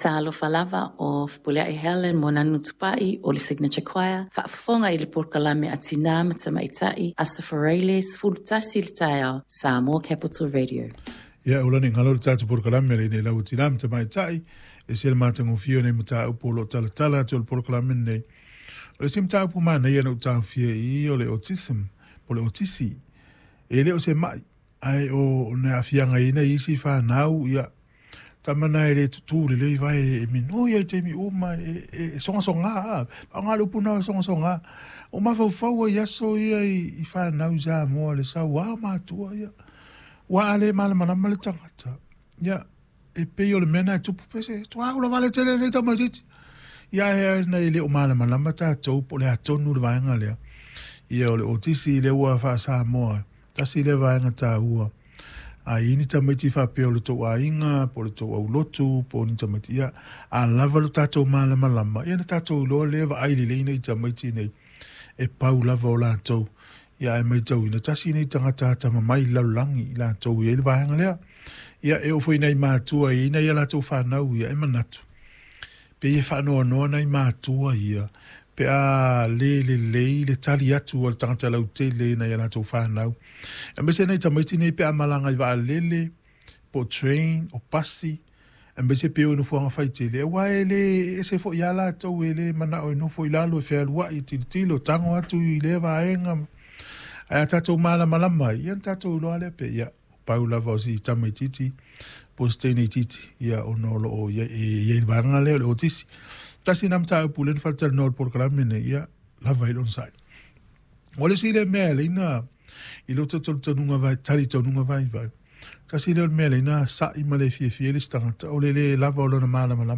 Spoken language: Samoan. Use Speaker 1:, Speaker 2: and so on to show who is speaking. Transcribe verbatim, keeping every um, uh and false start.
Speaker 1: Talofa lava o Fepuleai Helen Moananu Tupai o le Signature Choir, faafofoga i le polokalame a Tinā ma Tamaitai, Aso Faraile sefulu tasi le taeao, Samoa Capital Radio.
Speaker 2: Ia ula ne ngalo le tātou polokalame le nei lau tinā ma tamaitai e se le matagofie o nei mataupu o lo o talatala atu o le polokalame lenei. O le isi mataupu manaia na ou taofia i i o le autism po o le otisi. E le o se mai ae o le aafiaga i ai isi fanau ia tama na e le tutū lelei vae e minoi ai i taimi uma e, e, e sogasoga a faaaoga le upu na sogasoga o mafaufau ai aso ia i, i fanau i Samoa le sauā o matua ia ua a le malamalama le tagata ia e pei o le mea na e tupu pe se tuau lava le tele nei tamaitiiti ia e na e le o malamalama tatou po o le a tonu le vaega lea ia o le otisi lea ua faa-Samoa tasi lea vaega taua. A i ai ni tamaiti faapea o le tou aiga, po o le tou aulotu, po o ni tamaiti, ia, a lava lo tatou malamalama, ia na tatou iloa lea vaai lelei nei tamaiti nei, e pau lava o latou. Ia ae matauina, tasi nei tagata atamamai i le lalolagi, i latou e i ai le vaega lea. Ia, e oo foi i nai matua e i ai nai a latou fanau ia, e manatu, pei e faanoanoa nai matua ia pe a le lelei le tali atu a le tagata lautele i nai a latou fanau. Aemaise nai tamaiti nei pe a malaga i vaalele, po o train, o pasi, aemaise pe o i nofoaga faitele, aua e le ese foi lava latou e le manao e nofo i lalo e fealuai, e tilotilo, tago atu i lea vaega. Ae a tatou malamalama ai, ia ona tatou iloa lea pe ia, pau lava o si tamaitiiti po o si teine itiiti ia ona o lo o i ai le vaega lea o le otisi. Tasi lena mataupu lea na faalatalanoa i le polokalame lenei, ia lava ai le onosai. O le isi lea mea e ala ai ona i lou talitonuga vai, talitonuga vaivai, tasi lea o le mea e ala ai ona sa'i ma le fiafia ai le isi tagata, o le lē lava o lona malamalama.